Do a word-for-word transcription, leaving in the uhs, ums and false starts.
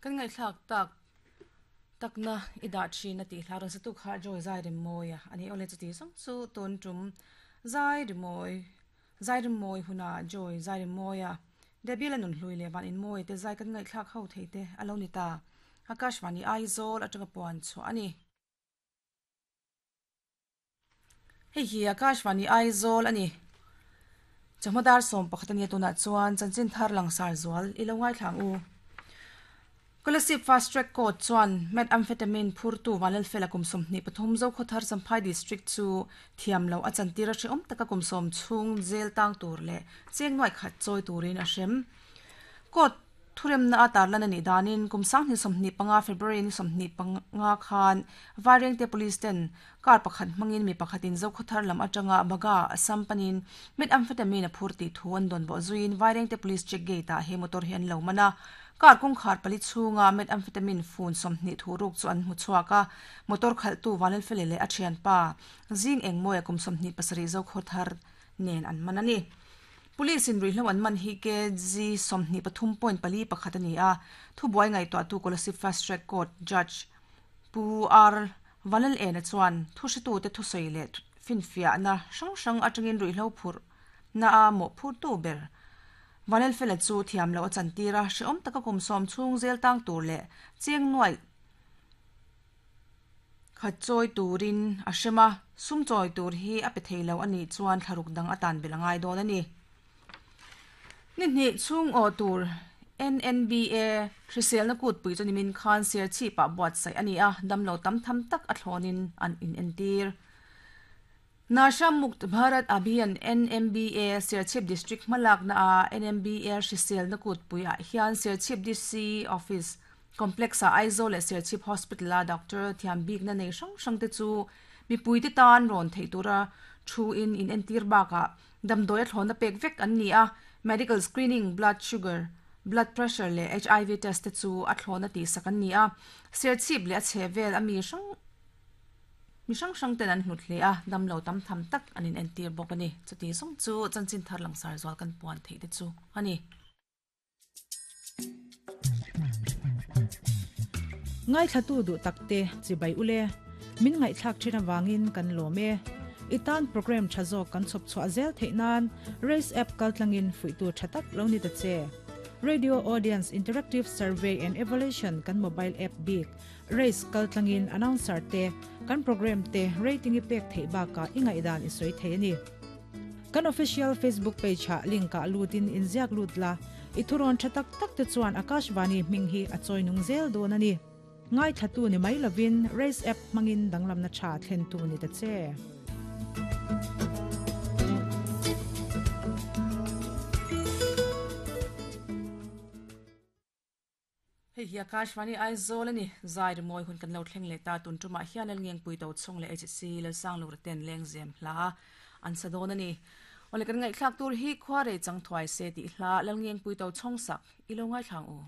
Kan ngai thlak tak takna ida thin ati hlaron sa tu kha joy zai rim moya ani ole chu ti song chu ton tum zai rimoi zai rimoi huna joy zai rim moya debila nun hlui le van in moi te zai kan ngai thlak ho thei te alo ni ta Akashvani Aizawl atanga puan chu ani hei hi Akashvani Aizawl ani chamadar som pakhatania tuna chuan chanchin thar langsar zual ilo ngai thlang u Kolasib Fast Track Court chuan methamphetamine phurtu vanlal fela kumsum ni pathum zo khothar Champhai district chu thiamlo a chantira hre om taka kumsum chung jail tang tur le chengnuai khat choi turin a hrem court thurem na atar lan ani danin kumsang ni somni panga February ni somni panga khan Vairengte police ten kar pakhat mangin mi pakhatin zo khothar lam atanga baga Assam panin methamphetamine a phurti thu an don bo zuin Vairengte police check gate a he motor hian lo mana kar kong khar pali chunga methamphetamine fun somni thuruk chu an mu chuaka motor khaltu vanel felele a thian pa jing engmoya kum somni pasari zo khothar nen an manani police in rihlo an man hi ke g somni pathum point pali pakhat ani a thu buai ngai to tu Kolasib Fast Track Court judge pu r vanel en chuan thu hritu te thu sei le finfia na sang sang atangin rihlo phur na a mo phur tu ber vanel fela chu thiam lo chantira hreom taka kum som chung zel tang tur le cheng nuai khat choi turin a hrema sum choi tur hi a pe theilo ani chuan thlaruk dang atan belangai don ani ni ni chung o tur N N B A hrisel na kut pui chanimin khan ser chi pa buat sai ani a damlo tam tham tak a thlonin an in entir Nasha Mukt Bharat Abhiyan N M B A Serchhip District malak na a N M B A hrisel na kut pui a hian Serchhip D C Office Complex a Aizawl le Serchhip Hospital a doctor thiam bik na nei hrang hrang te chu mi pui te tan ron thei tura thu in in entir baka damdoi a thlona pek vek an ni a medical screening blood sugar blood pressure le H I V test te chu a thlona ti sak an ni a Serchhip le a chhevel ami hrang mi hrang hrang ten an hlut hle a damlo tam tham tak anin entir bawk ani chuti song chu chanchin thar langsar zual kan puan thei te chu ani ngai thatu du takte chibai ule min ngai thlak thina wangin kan lome itan program thazo kan chop chwa zel theinan race app kaltlangin fuitu thatak lo ni ta che Radio Audience Interactive Survey and Evaluation kan mobile app big race kaltlangin announcer te kan program te rating ipek thei ba ka ingai dan isoi thei ani kan official Facebook page ha link ka lutin inziak lutla ithuron thatak tak te chuan Akashvani minghi achoi nung zel don ani ngai thatu ni mai lovin race app mangin danglam na tha thlen tu ni ta che hei hi Akashvani Aizawl ani zai moi hun kan lo thleng le ta tun tuma hian al ngeng pui to chung le H C lo sang lo ten leng zem hla an sadon ani ole kan ngai thlak tur hi khware chang thwai se ti hla lal ngeng pui to chong sak ilo ngai thlang u.